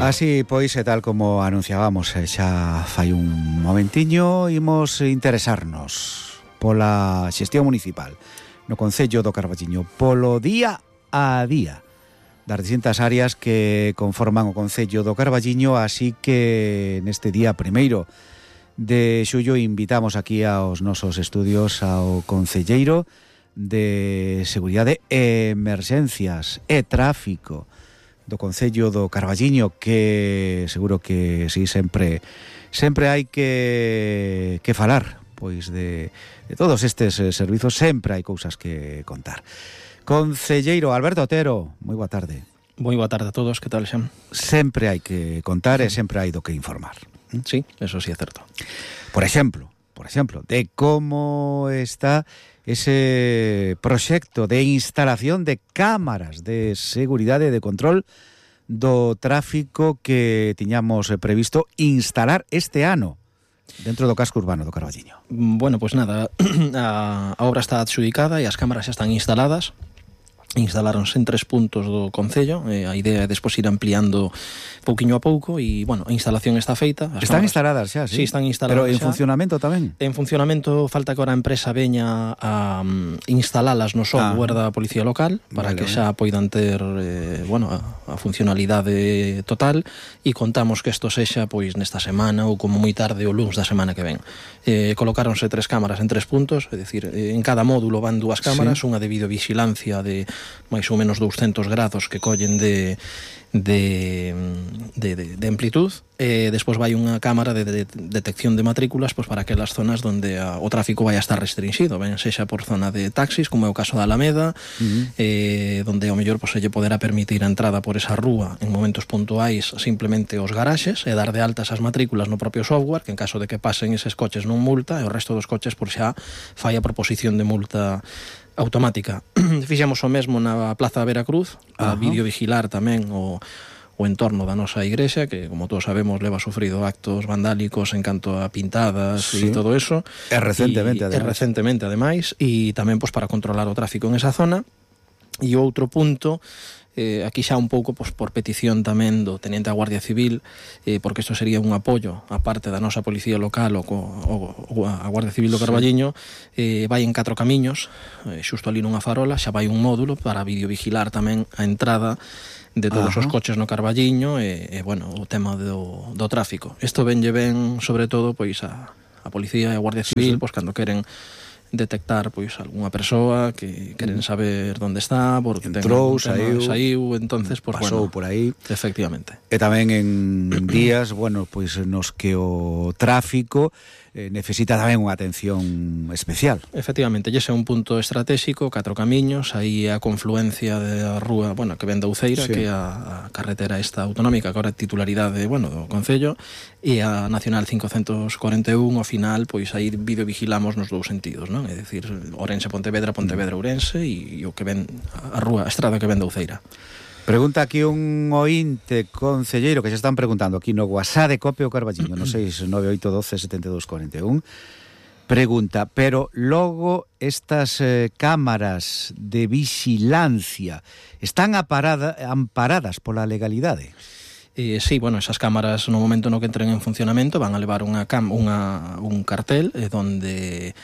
Así, pois, e tal como anunciábamos xa fai un momentiño, imos interesarnos pola xestión municipal no Concello do Carballiño, polo día a día das distintas áreas que conforman o Concello do Carballiño, así que neste día 1º de xullo invitamos aquí aos nosos estudios ao concelleiro de Seguridade e Emerxencias e Tráfico do Concello do Carballiño, que seguro que sí, sempre hai que falar pois de todos estes servizos, sempre hai cousas que contar. Concelleiro Alberto Otero, moi boa tarde. Moi boa tarde a todos, que tal, Xem? Sempre hai que contar e sempre hai do que informar. Sí, eso sí é certo. Por exemplo, de como está ese proxecto de instalación de cámaras de seguridade e de control do tráfico que tiñamos previsto instalar este ano dentro do casco urbano do Carballiño. Bueno, pois nada, a obra está adxudicada e as cámaras xa están instaladas. Instaláronse en 3 puntos do Concello, a idea é despois ir ampliando pouquiño a pouco e, bueno, a instalación está feita. Están instaladas xa, sí? Sí, están instaladas. Pero en xa. Funcionamento tamén? En funcionamento, falta que ahora a empresa veña a instalalas no software da Policía Local para que xa poidan ter, a funcionalidade total, e contamos que isto sexa pois nesta semana ou como moi tarde o luns da semana que ven. Colocáronse 3 cámaras en 3 puntos, é dicir, en cada módulo van 2 cámaras, unha de videovigilancia de máis ou menos 200 grados que collen de amplitud, e despois vai unha cámara de detección de matrículas pois para aquelas zonas onde o tráfico vai a estar restringido, ben sexa por zona de taxis, como é o caso da Alameda, onde ao mellor se lle poderá permitir a entrada por esa rúa en momentos puntuais simplemente os garaxes e dar de altas as matrículas no propio software, que en caso de que pasen eses coches non multa, e o resto dos coches por xa fai a proposición de multa automática. Fixemos o mesmo na Plaza Veracruz, a videovigilar tamén o entorno da nosa igrexa, que, como todos sabemos, leva sufrido actos vandálicos en canto a pintadas e todo eso. E recentemente, ademais. E tamén pois para controlar o tráfico en esa zona. E outro punto, aquí xa un pouco pois, por petición tamén do Teniente da Guardia Civil, porque isto sería un apoio a parte da nosa Policía Local ou a Guardia Civil do Carballiño, vai en 4 camiños, xusto ali nunha farola, xa vai un módulo para videovigilar tamén a entrada de todos os coches no Carballiño e o tema do tráfico. Isto venlle ben, sobre todo, pois a Policía e a Guardia Civil, pois cando queren detectar pois algunha persoa que queren saber onde está, porque entrou, saiu, entonces pois pasou por aí. Efectivamente. E tamén en días, pois nos que o tráfico necesita tamén unha atención especial. Efectivamente, ese é un punto estratégico, 4 camiños, aí a confluencia da rúa, que ven da Uceira, que é a carretera esta autonómica, que agora é titularidade, do Concello, e a Nacional 541, ao final, pois aí videovigilamos nos 2 sentidos, non? É dicir, Ourense-Pontevedra, Pontevedra-Ourense, e o que ven a rúa, a estrada que ven da Uceira. Pregunta aquí un ointe concelleiro que xa están preguntando aquí no WhatsApp de Cope o Carballiño, no 698127241. Pregunta, pero logo estas cámaras de vixilancia están amparadas pola legalidade? Sí, esas cámaras no momento no que entren en funcionamento van a levar un cartel donde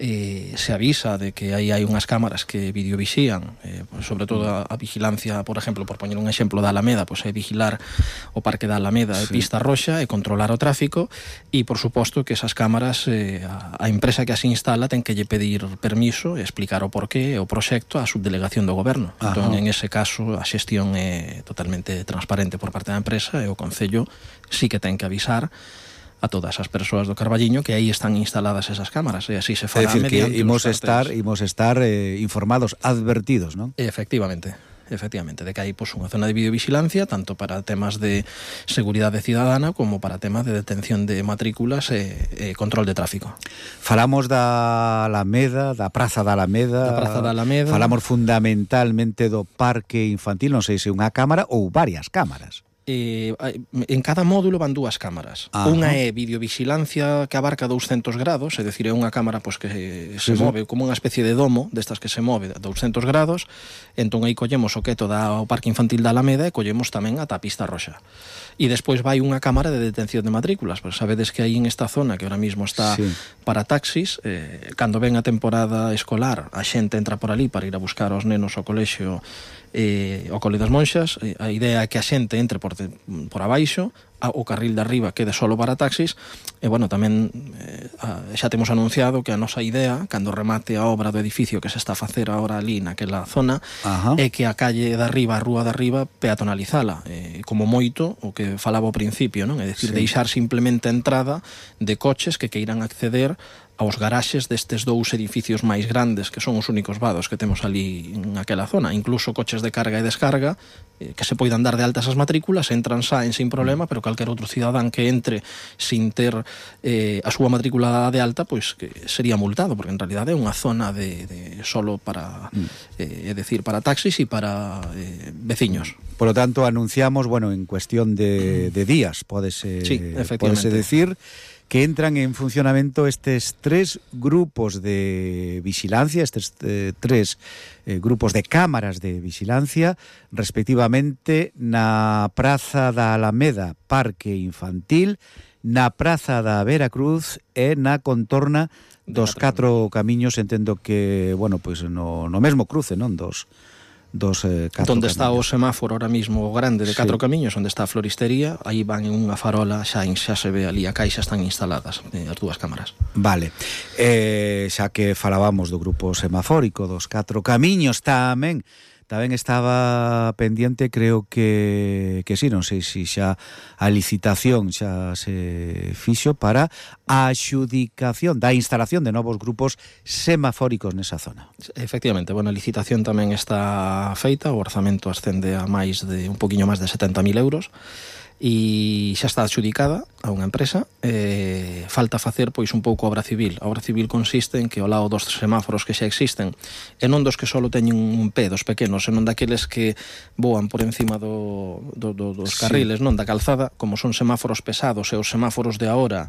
se avisa de que aí hai unhas cámaras que videovixían, sobre todo a vigilancia, por exemplo, por poñer un exemplo da Alameda, pois é vigilar o Parque da Alameda e Pista Roxa e controlar o tráfico, e por suposto que esas cámaras a empresa que as instala ten que lle pedir permiso e explicar o porqué e o proxecto á subdelegación do goberno. Entón, en ese caso, a xestión é totalmente transparente por parte da empresa e o Concello sí que ten que avisar a todas as persoas do Carballiño que aí están instaladas esas cámaras, e así se fará. É dicir, que imos estar informados, advertidos, non? Efectivamente, de que hai unha zona de videovigilancia tanto para temas de seguridade ciudadana como para temas de detención de matrículas e control de tráfico. Falamos da Alameda, da Praza da Alameda. Falamos fundamentalmente do Parque Infantil, non sei se unha cámara ou varias cámaras. en cada módulo van dúas cámaras. Unha é videovigilancia que abarca 200 grados, é dicir, é unha cámara pois, que se move como unha especie de domo destas que se move a 200 grados. Entón aí collemos o queto ao Parque Infantil da Alameda e collemos tamén ata a Pista Roxa. E despois vai unha cámara de detención de matrículas, pois sabedes que aí en esta zona que ahora mismo está para taxis, cando ven a temporada escolar a xente entra por ali para ir a buscar aos nenos ao colexio ao Cole das Monxas. A idea é que a xente entre por abaixo, o carril de arriba quede solo para taxis. E bueno, tamén xa temos anunciado que a nosa idea, cando remate a obra do edificio que se está a facer agora ali naquela zona, é que a calle de arriba, a rúa de arriba, peatonalizala, como moito o que falaba ao principio, non? É dicir, deixar simplemente a entrada de coches que queiran acceder aos garaxes destes dous edificios máis grandes, que son os únicos vados que temos ali naquela zona. Incluso coches de carga e descarga que se poidan dar de altas as matrículas, entran, saen sin problema, pero calquer outro cidadán que entre sin ter a súa matrícula de alta, pois que sería multado, porque en realidad é unha zona de solo para é decir, para taxis e para veciños. Por lo tanto, anunciamos, bueno, en cuestión de días, pódese decir, que entran en funcionamento estes 3 grupos de vigilancia, estes 3 grupos de cámaras de vigilancia, respectivamente na Praza da Alameda, Parque Infantil, na Praza da Veracruz e na contorna dos 4 camiños. Entendo que, bueno, pois no mesmo cruce, non? Dos onde está o semáforo ahora mismo o grande de 4 camiños, onde está a floristería, aí van en unha farola, xa se ve ali a caixa, están instaladas as dúas cámaras. Vale, xa que falábamos do grupo semafórico dos 4 camiños, tamén estaba pendiente, creo que sí, non sei se xa a licitación xa se fixo para a axudicación da instalación de novos grupos semafóricos nesa zona. Efectivamente, bueno, a licitación tamén está feita, o orzamento ascende a un poquinho máis de 70.000 euros, e xa está adxudicada a unha empresa. Falta facer pois un pouco obra civil. A obra civil consiste en que ao lado dos semáforos que xa existen, e non dos que só teñen un pé, dos pequenos, senón daqueles que voan por encima dos carriles, non da calzada, como son semáforos pesados e os semáforos de agora,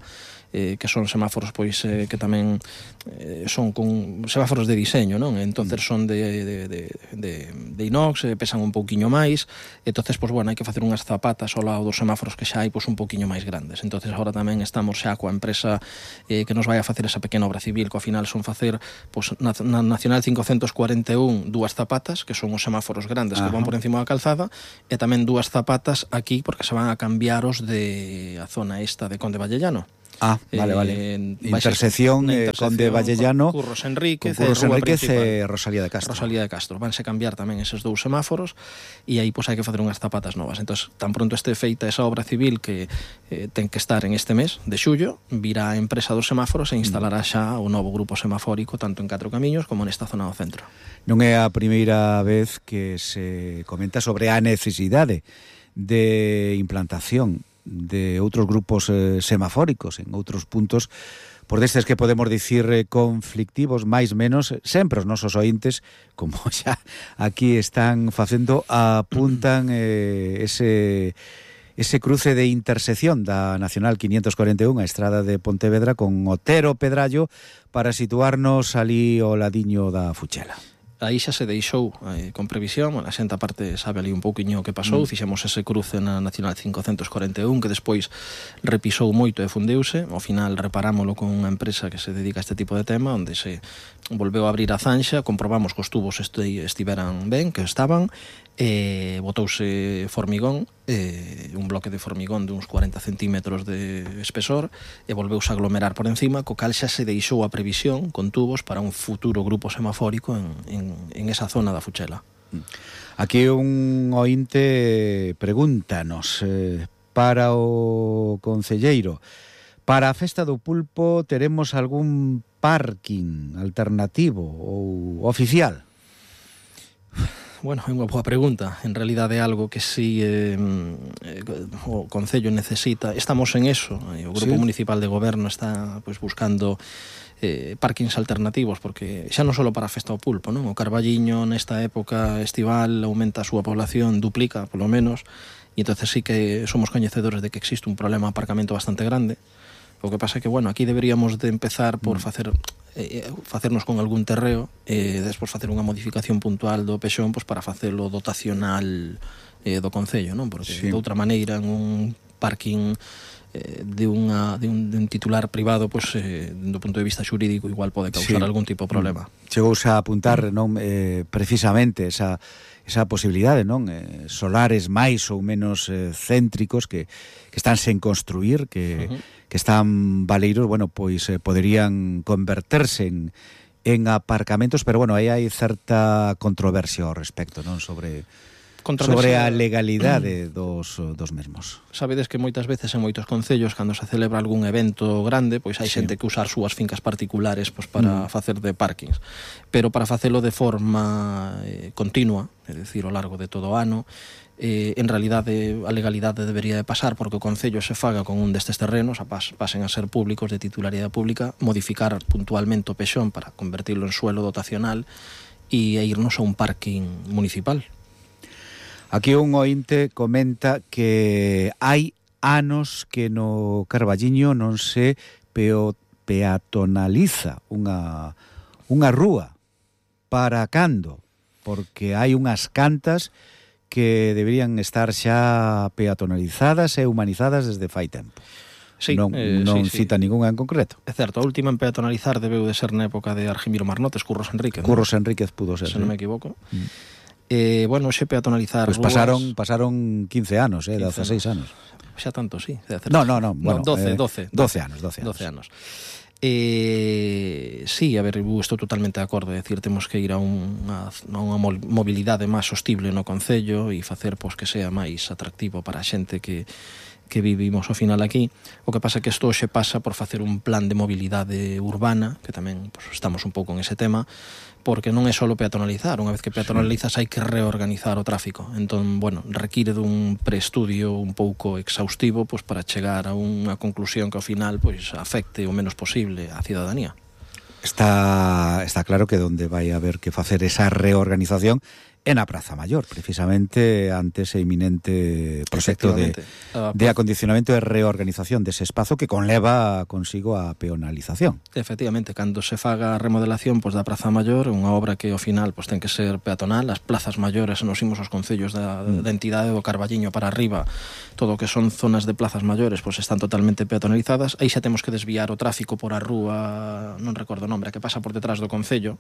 que son semáforos pois que tamén son con semáforos de diseño, non? Entonces son de inox, pesan un pouquiño máis. Entonces, pois bueno, hai que facer unhas zapatas ao lado dos semáforos que xa hai pois un pouquiño máis grandes. Entonces agora tamén estamos xa coa empresa que nos vai a facer esa pequena obra civil, que ao final son facer pois na Nacional 541 dúas zapatas, que son os semáforos grandes que van por encima da calzada, e tamén dúas zapatas aquí porque se van a cambiar os de a zona esta de Conde Vallellano. Vale. Intersección Conde Vallellano, Curros Enríquez e Rosalía de Castro. Vanse cambiar tamén eses dous semáforos, e aí pois hai que facer unhas zapatas novas. Entón, tan pronto este feita esa obra civil, que ten que estar en este mes de xullo, virá a empresa dos semáforos e instalará xa o novo grupo semafórico tanto en 4 camiños como nesta zona do centro. Non é a primeira vez que se comenta sobre a necesidade de implantación de outros grupos semafóricos en outros puntos, por destes que podemos dicir conflictivos, máis menos, sempre os nosos ointes, como xa aquí están facendo, apuntan ese cruce de intersección da Nacional 541, a estrada de Pontevedra, con Otero Pedrallo, para situarnos ali ao ladiño da Fuchela. Aí xa se deixou con previsión, a xente aparte sabe ali un pouquiño o que pasou, fixemos ese cruce na Nacional 541 que despois repisou moito e fundeuse. Ao final reparámolo con unha empresa que se dedica a este tipo de tema, onde se volveu a abrir a zanxa, comprobamos que os tubos estiveran ben, que estaban, botouse formigón, un bloque de formigón de uns 40 centímetros de espesor, e volveuse a aglomerar por encima, co cal xa se deixou a previsión con tubos para un futuro grupo semafórico en esa zona da Fuchela. Aquí un ointe pregúntanos para o concelleiro: para a Festa do Pulpo teremos algún parking alternativo ou oficial? Bueno, é unha boa pregunta. En realidade é algo que si o Concello necesita. Estamos en eso. O Grupo Municipal de Goberno está pois buscando parkings alternativos, porque xa non só para a Festa do Pulpo, non? O Carballiño nesta época estival aumenta a súa población, duplica polo menos, e entonces sí que somos coñecedores de que existe un problema de aparcamento bastante grande. O que pasa é que, bueno, aquí deberíamos de empezar por facernos con algún terreo e despois facer unha modificación puntual do pexón pois para facelo dotacional do Concello, non? Porque de outra maneira en un parking de un titular privado, pois do punto de vista xurídico igual pode causar algún tipo de problema. Chegouse a apuntar non precisamente esa posibilidade, non? Solares máis ou menos céntricos que están sen construir, que están baleiros, bueno, pois poderían converterse en aparcamentos, pero bueno, aí hai certa controversia ao respecto, non? Sobre a legalidade dos mesmos. Sabedes que moitas veces en moitos concellos, cando se celebra algún evento grande, pois hai xente que usa as súas fincas particulares pois para facer de parkings, pero para facelo de forma continua, é dicir, ao largo de todo o ano, en realidade a legalidade debería de pasar porque o Concello se faga con un destes terrenos, pasen a ser públicos de titularidade pública, modificar puntualmente o pexón para convertirlo en suelo dotacional e irnos a un parking municipal. Aquí un ointe comenta que hai anos que no Carballiño non se peatonaliza unha rúa. Para cando? Porque hai unhas cantas que deberían estar xa peatonalizadas e humanizadas desde fai tempo. Sí, non cita ningunha en concreto. É certo, a última en peatonalizar debeu de ser na época de Argimiro Marnotes, Curros Enríquez. Curros Enríquez pudo ser, se non me equivoco. Bueno, xe peatonalizar pues pasaron 15 anos, 16 anos. Xa tanto, sí. No, bueno, 12 anos. Sí, a ver, estou totalmente de acordo, é dicir, temos que ir a unha mobilidade máis sostible no Concello e facer pois que sea máis atractivo para a xente que vivimos ao final aquí. O que pasa é que isto xe pasa por facer un plan de mobilidade urbana, que tamén pois, estamos un pouco en ese tema, porque non é só peatonalizar, unha vez que peatonalizas hai que reorganizar o tráfico. Entón, bueno, require dun preestudio un pouco exhaustivo pois para chegar a unha conclusión que ao final pois afecte o menos posible á cidadanía. Está claro que onde vai haber que facer esa reorganización en a Praza Maior, precisamente ante ese inminente proxecto de acondicionamento e reorganización dese espazo que conleva consigo a peonalización. Efectivamente, cando se faga a remodelación pois, da Praza Maior, unha obra que ao final pois, ten que ser peatonal, as plazas maiores nos imos aos concellos da entidade do Carballiño para arriba, todo o que son zonas de plazas maiores pois, están totalmente peatonalizadas, aí xa temos que desviar o tráfico por a rúa, non recordo o nombre, que pasa por detrás do concello,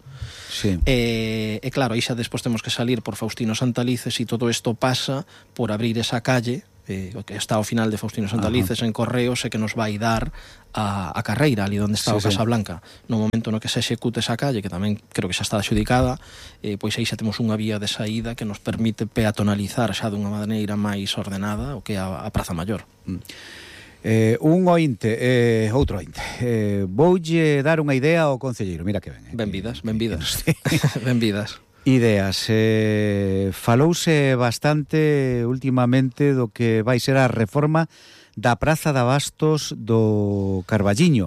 e claro, aí xa despois temos que salir por Faustino Santalices e todo isto pasa por abrir esa calle que está ao final de Faustino Santalices en Correos e que nos vai dar a carreira ali onde está o Casa Blanca. No momento no que se execute esa calle, que tamén creo que xa está adxudicada, pois aí xa temos unha vía de saída que nos permite peatonalizar xa dunha maneira máis ordenada o que é a Praza Maior. Un ointe, outro ointe. Voulle dar unha idea ao concelleiro, mira que ben. Benvidas. Benvidas. Ideas. Falouse bastante últimamente do que vai ser a reforma da Praza de Abastos do Carballiño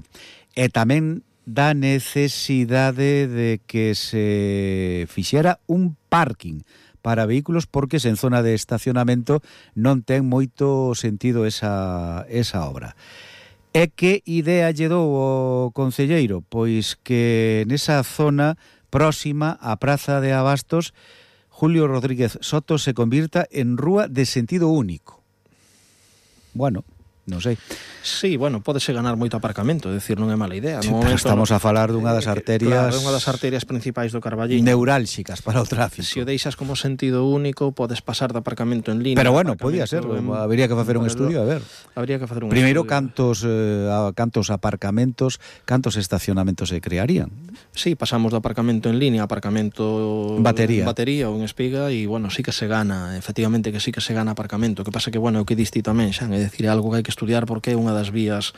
e tamén da necesidade de que se fixera un parking para vehículos porque sen zona de estacionamento non ten moito sentido esa obra. E que idea lle dou o concelleiro? Pois que nesa zona próxima á Praza de Abastos, Julio Rodríguez Soto se convirta en rúa de sentido único. Bueno, non sei. Sí, bueno, pódese ganar moito aparcamento, é dicir, non é mala idea. Sí, pero estamos a falar dunha das arterias... Claro, unha das arterias principais do Carballiño. Neurálxicas para o tráfico. Se o deixas como sentido único, podes pasar de aparcamento en línea. Pero bueno, podía ser, habría que facer un estudio, a ver. Habría que facer un primeiro, estudio. cantos aparcamentos, cantos estacionamentos se crearían. Sí, pasamos do aparcamento en línea a aparcamento batería ou en espiga e, bueno, sí que se gana, efectivamente que sí que se gana aparcamento. O que pasa que, bueno, o que diste tamén, xa, é dicir, é algo que hai que estudiar porque é unha das vías,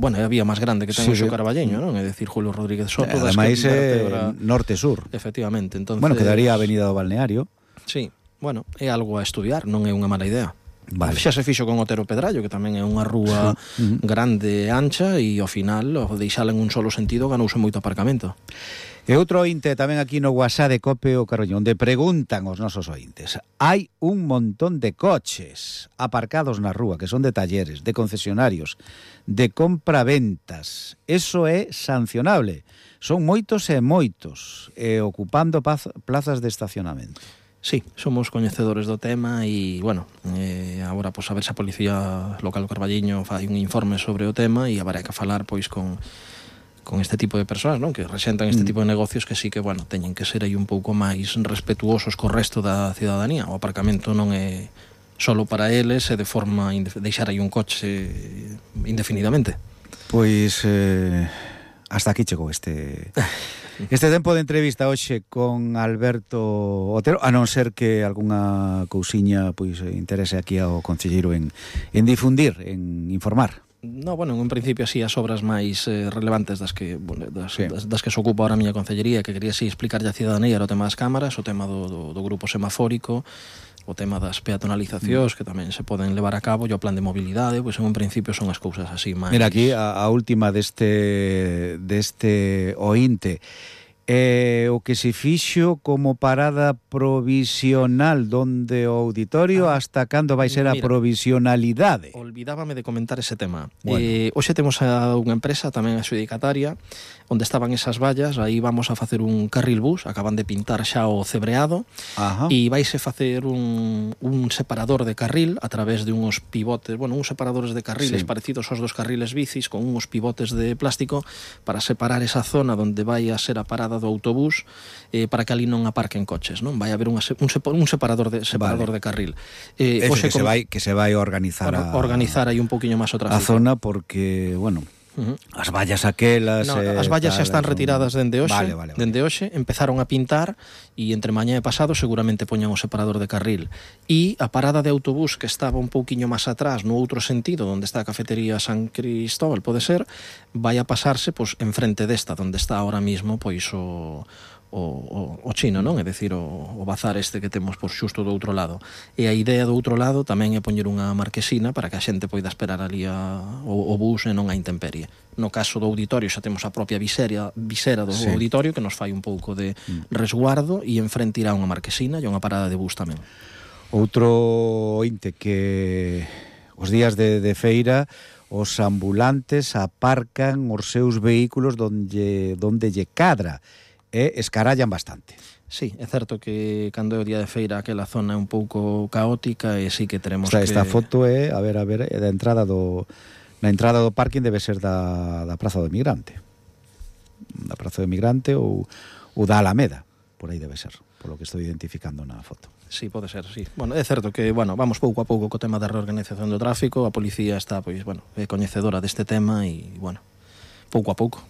bueno, é a vía máis grande que ten o Carballeño, non? É dicir, Julio Rodríguez Soto. Ademais é norte-sur. Efectivamente, entonces... Bueno, quedaría a Avenida do Balneario. Sí, bueno, é algo a estudiar, non é unha mala idea. Vale. Xa se fixo con Otero Pedrallo, que tamén é unha rúa grande e ancha, e ao final, ao deixala en un solo sentido, ganouse moito aparcamento. E outro ointe tamén aquí no WhatsApp de Cope o Carballiño, onde preguntan os nosos ointes: hai un montón de coches aparcados na rúa que son de talleres, de concesionarios, de compraventas. Eso é sancionable. Son moitos e moitos, ocupando plazas de estacionamento. Sí, somos coñecedores do tema e, bueno, agora, pois, a ver se a Policía Local do Carballiño fai un informe sobre o tema e haberá que falar, pois, con este tipo de persoas, non? Que rexentan este tipo de negocios, que sí que, bueno, teñen que ser aí un pouco máis respetuosos co resto da ciudadanía. O aparcamento non é solo para eles e de forma deixar aí un coche indefinidamente. Pois hasta aquí chegou este tempo de entrevista hoxe con Alberto Otero, a non ser que algunha cousiña pois interese aquí ao concelleiro en difundir, en informar. No, bueno, en principio así as obras máis relevantes das que se ocupa ahora a miña concellería, que quería así explicarlle a ciudadanía, era o tema das cámaras, o tema do grupo semafórico, o tema das peatonalizacións que tamén se poden levar a cabo, e o plan de mobilidade, pois en principio son as cousas así máis. Mira, aquí a última deste ointe. O que se fixo como parada provisional donde o auditorio, hasta cando vai ser a provisionalidade? Olvidábame de comentar ese tema. Bueno. Hoxe temos a unha empresa tamén adxudicataria onde estaban esas vallas, aí vamos a facer un carril bus, acaban de pintar xa o cebreado. Ajá. E vaise facer un separador de carril a través de uns pivotes, bueno, uns separadores de carriles parecidos aos dos carriles bicis, con uns pivotes de plástico para separar esa zona onde vai a ser a parada do autobús, para que ali non aparquen coches, non? Vai haber un separador de carril. Eso que se vai organizar aí un pouquiño máis o tráfico. A zona, porque, bueno, as vallas aquelas... No, as vallas xa están retiradas dende hoxe. Vale. Dende hoxe empezaron a pintar e entre mañá e pasado seguramente poñan o separador de carril. E a parada de autobús que estaba un pouquiño máis atrás no outro sentido, onde está a cafetería San Cristóbal, pode ser, vai a pasarse pois enfrente desta, onde está ahora mismo pois o chino, non? É dicir, o bazar este que temos por xusto do outro lado. E a idea do outro lado tamén é poñer unha marquesina para que a xente poida esperar ali o bus e non a intemperie. No caso do auditorio xa temos a propia visera do auditorio que nos fai un pouco de resguardo, e enfrente irá unha marquesina e unha parada de bus tamén. Outro ointe, que os días de feira os ambulantes aparcan os seus vehículos donde lle cadra e escarallan bastante. Sí, é certo que cando é o día de feira aquela zona é un pouco caótica, e sí que teremos que... Esta foto é, a ver, é da entrada na entrada do parking, debe ser da Praza do Emigrante. Da Praza do Emigrante ou da Alameda, por aí debe ser, polo que estou identificando na foto. Sí, pode ser, sí. Bueno, é certo que, bueno, vamos pouco a pouco co tema da reorganización do tráfico, a policía está, pois, bueno, é coñecedora deste tema e, bueno, pouco a pouco.